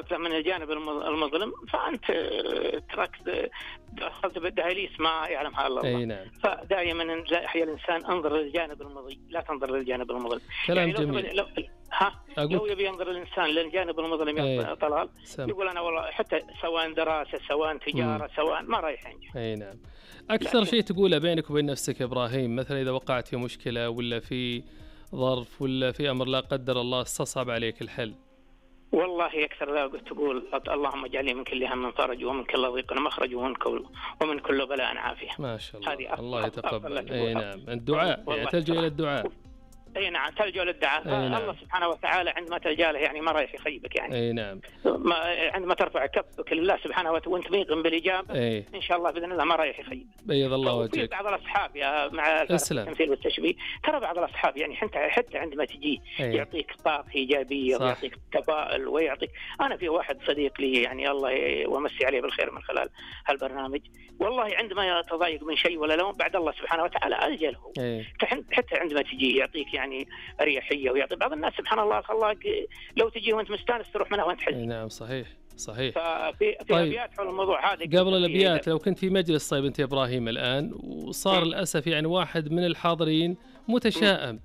ظهرت له من الجانب المظلم فأنت دخلت بالدهاليز ما يعلمها إلا الله. نعم. فدائما يحيى الإنسان انظر للجانب المضيء لا تنظر للجانب المظلم. كلام جميل. لو يبي ينظر الإنسان للجانب المظلم يا طلال يقول أنا والله حتى سواء دراسة سواء تجارة سواء ما رايح ينجح. نعم. أكثر شيء تقوله بينك وبين نفسك يا إبراهيم مثلا إذا وقعت في مشكلة ولا في ظرف ولا في أمر لا قدر الله استصعب عليك الحل؟ والله أكثر تقول اللهم اجعلني من كل هم فرج ومن كل ضيق مخرج ومن كل بلاء عافية. ما شاء الله. الله يتقبل. نعم. الدعاء يعني تلجأ إلى الدعاء. نعم تلجأ للدعاء. نعم. الله سبحانه وتعالى عندما تلجأ له يعني ما رايح يخيبك يعني. نعم. عندما ترفع كفك لله سبحانه وتعالى وانت ميقن بالإجابة إن شاء الله بإذن الله ما رايح يخيب. بيض الله وجهك. بعض الأصحاب يا مع التمثيل والتشبيه ترى بعض الأصحاب يعني حتى عندما تجي يعطيك طاقة إيجابية ويعطيك تفاؤل ويعطيك. أنا في واحد صديق لي يعني الله ومسي عليه بالخير من خلال هالبرنامج والله عندما يتضايق من شيء ولا لون بعد الله سبحانه وتعالى ألجأ له. حتى عندما تجي يعطيك يعني أريحية ويعطي بعض الناس سبحان الله خلاك لو تجي وانت مستانس تروح منها وانت حزين. نعم صحيح. ففي أبيات حول الموضوع هذا. قبل الأبيات لو كنت في مجلس طيب أنت يا إبراهيم الآن وصار للأسف يعني واحد من الحاضرين متشائم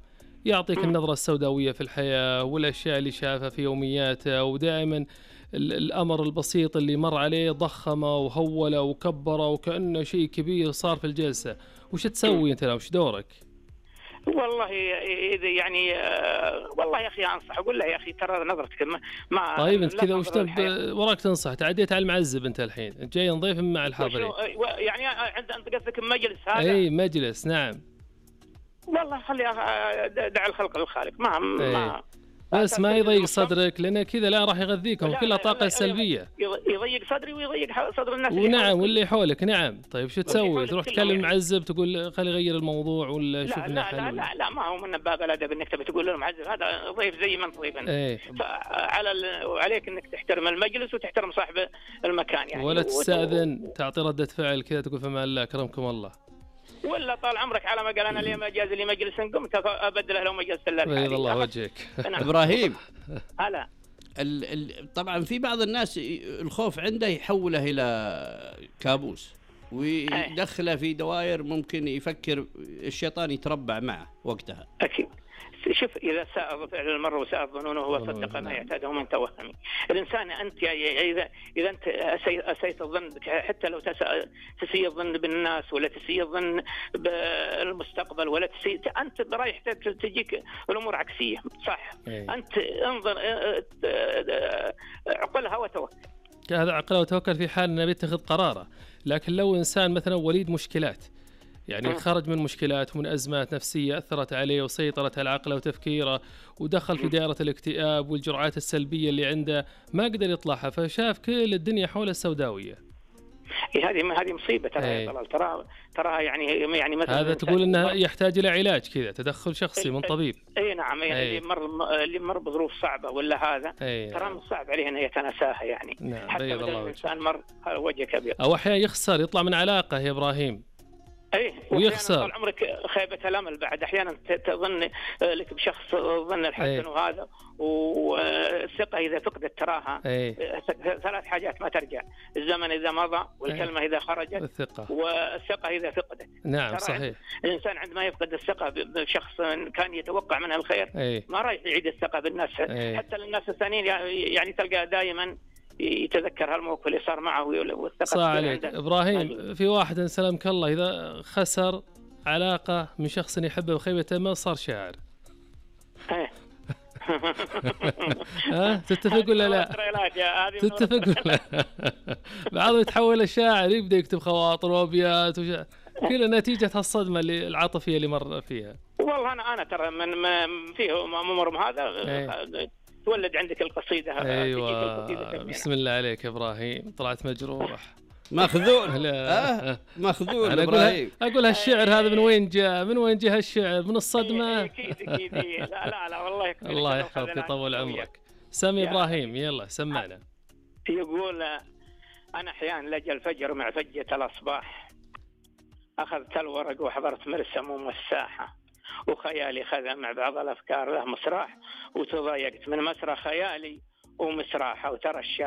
يعطيك النظرة السوداوية في الحياة والأشياء اللي شافها في يومياته ودائما الأمر البسيط اللي مر عليه ضخمه وهوله وكبره وكأنه شيء كبير صار في الجلسة. وش تسوي أنت وش دورك؟ والله إذا يعني والله يا أخي أنصح أقول له يا أخي ترى نظرتك ما طيب أنت كذا وش وراك تنصح تعديت على المعزب أنت الحين جاي نضيف مع الحاضرين يعني أنت قصدك مجلس هذا؟ مجلس نعم. والله خلي دع الخلق للخالق ما بس ما يضيق صدرك لأن كذا لا راح يغذيكم كلها طاقة سلبية. يضيق صدري ويضيق صدر الناس ونعم واللي حولك. نعم طيب شو تسوي؟ تروح تكلم معزب تقول خلي يغير الموضوع ولا شوف لنا حل؟ لا ما هو من باب الأدب إنك تبي تقول له معزب هذا ضيف زي ما أنت ضيف أنت. وعليك إنك تحترم المجلس وتحترم صاحب المكان يعني. ولا تستأذن تعطي ردة فعل كذا تقول فما الله أكرمكم الله. ولا طال عمرك على ما قال أنا لي ما جاز لي مجلس قمت أبدله لو مجلس الله. بيض الله وجهك. إبراهيم هلا طبعا في بعض الناس الخوف عنده يحوله إلى كابوس ويدخله في دوائر ممكن يفكر الشيطان يتربع معه وقتها. أكيد. شوف إذا ساء فعل المرء وساء ظنونه هو صدق ما يعتاده من توهم. الإنسان أنت إذا أنت أسيت الظن حتى لو تسيء الظن بالناس ولا تسيء الظن بالمستقبل ولا تسيء أنت رايح تجيك الأمور عكسية صح. أنت انظر عقلها وتوكل. هذا عقله وتوكل في حال أنه بيتخذ قراره. لكن لو إنسان مثلا وليد مشكلات يعني خرج من مشكلات ومن أزمات نفسية أثرت عليه وسيطرت على عقله وتفكيره ودخل في دائرة الاكتئاب والجرعات السلبية اللي عنده ما قدر يطلعها فشاف كل الدنيا حوله السوداوية. هذه مصيبة تراها يعني مثلا هذا تقول انه يحتاج الى علاج كذا تدخل شخصي من طبيب. نعم يعني اللي مر بظروف صعبة ولا هذا ترى من صعب عليه انه يتناساها يعني. نعم. حتى لو الانسان مر وجه كبير او احيانا يخسر يطلع من علاقة يا ابراهيم ويخسر طال عمرك خيبة الأمل بعد أحيانا تظن لك بشخص ظن الحسن وهذا والثقة إذا فقدت تراها ثلاث حاجات ما ترجع الزمن إذا مضى والكلمة إذا خرجت والثقة إذا فقدت. نعم صحيح. الإنسان عندما يفقد الثقة بشخص كان يتوقع منها الخير ما راح يعيد الثقة بالناس حتى للناس الثانيين يعني تلقى دائما يتذكر هالموقف اللي صار معه والثقة. صح عليك إبراهيم. في واحد سلامك الله إذا خسر علاقة من شخص يحبه وخيبته ما صار شاعر. تتفق ولا لا؟ تتفق ولا بعضهم يتحول الشاعر يبدأ يكتب خواطر وأبيات كل نتيجة هالصدمة العاطفية اللي مر فيها. والله أنا ترى من فيه أمور هذا تولد عندك القصيدة. أيوة بسم الله عليك يا إبراهيم طلعت مجروح ماخذون ماخذون. أنا أقول هالشعر هذا من وين جاء هالشعر من الصدمة. أكيد لا والله الله يحفظك يطول عمرك. سامي إبراهيم يلا سمعنا. يقول أنا أحيانا لجأ الفجر مع فجة الأصباح أخذت الورق وحضرت مرسم ومساحة وخيالي خذ مع بعض الأفكار له مسراح وتضايقت من مسرح خيالي ومسراحة وترى